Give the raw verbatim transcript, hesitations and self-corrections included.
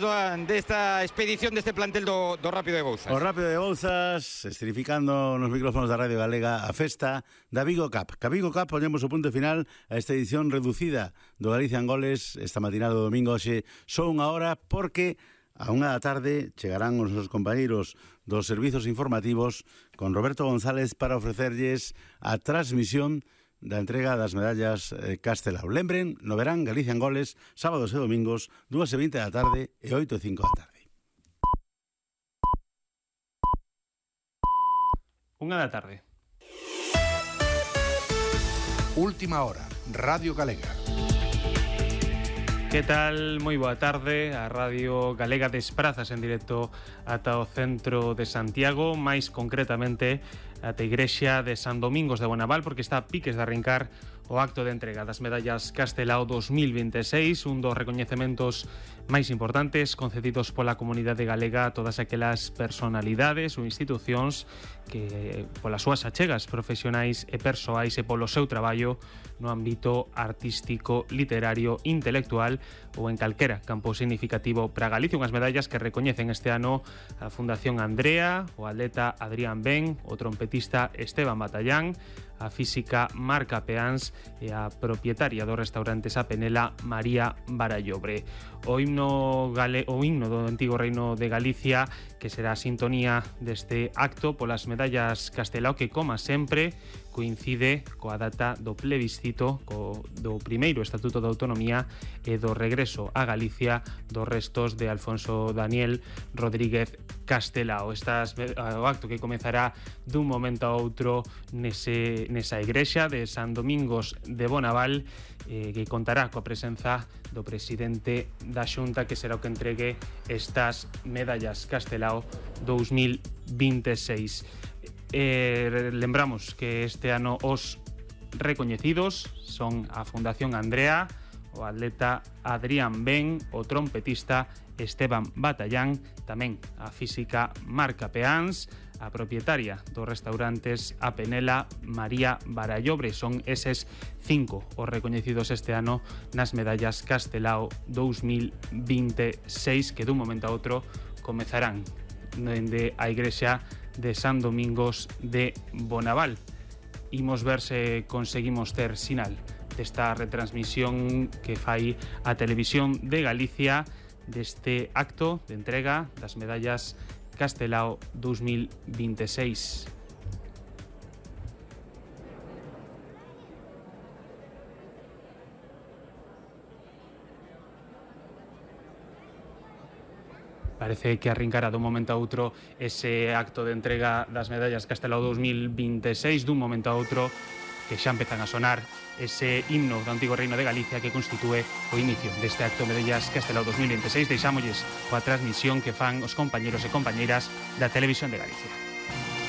desta expedición deste plantel do, do Rápido de Bouzas. O Rápido de Bouzas, estrificando nos micrófonos da Radio Galega a festa da Vigo Cup. Ca Vigo Cup ponemos o punto final a esta edición reducida do Galicia en Goles esta matinada do domingo. Hoxe só unha hora porque a unha da tarde chegarán os nosos compañeiros dos servizos informativos con Roberto González para ofrecerlles a transmisión da entrega das medallas eh, Castelao. Lembren, no verán Galicia en Goles, sábados e domingos, dúas e vinte da tarde e oito e cinco da tarde. Unha da tarde. Última hora, Radio Galega. Que tal? Moi boa tarde. A Radio Galega desprazas en directo ata o centro de Santiago, máis concretamente ata a igrexa de San Domingos de Bonaval, porque está a piques de arrincar o acto de entrega das medallas Castelao dos mil veintiséis, un dos recoñecementos máis importantes concedidos pola comunidade galega a todas aquelas personalidades ou institucións que polas súas achegas profesionais e persoais e polo seu traballo no ámbito artístico, literario, intelectual ou en calquera campo significativo para Galicia. Unhas medallas que recoñecen este ano a Fundación Andrea, o atleta Adrián Ben, o trompetista Esteban Batallán, a física Marca Peáns e a propietaria do restaurante Sa Penela, María Barallobre. O himno, gale... o himno do antigo reino de Galicia, que será a sintonía deste acto polas medallas Castelao, que, como sempre, coincide coa data do plebiscito co, do primeiro Estatuto de Autonomía e do regreso a Galicia dos restos de Alfonso Daniel Rodríguez Castelao. Estas, o acto que comezará dun momento a outro nese, nesa igrexa de San Domingos de Bonaval, eh, que contará coa presenza do presidente da Xunta, que será o que entregue estas medallas Castelao dos mil veintiséis. Eh, lembramos que este ano os recoñecidos son a Fundación Andrea, o atleta Adrián Ben, o trompetista Esteban Batallán, tamén a física Marca Peáns, a propietaria dos restaurantes A Penela, María Barallobre. Son eses cinco os recoñecidos este ano nas medallas Castelao dos mil veintiséis, que dun momento a outro comezarán dende a igrexa de San Domingos de Bonaval. Imos ver se conseguimos ter sinal desta retransmisión que fai a Televisión de Galicia deste acto de entrega das medallas Castelao dos mil veintiséis. Parece que arrincará dun momento a outro ese acto de entrega das medallas Castelao dos mil veintiséis, dun momento a outro que xa empezan a sonar ese himno do antigo reino de Galicia que constitúe o inicio deste acto de medallas Castelao dos mil veintiséis. Deixámosles coa transmisión que fan os compañeros e compañeiras da Televisión de Galicia.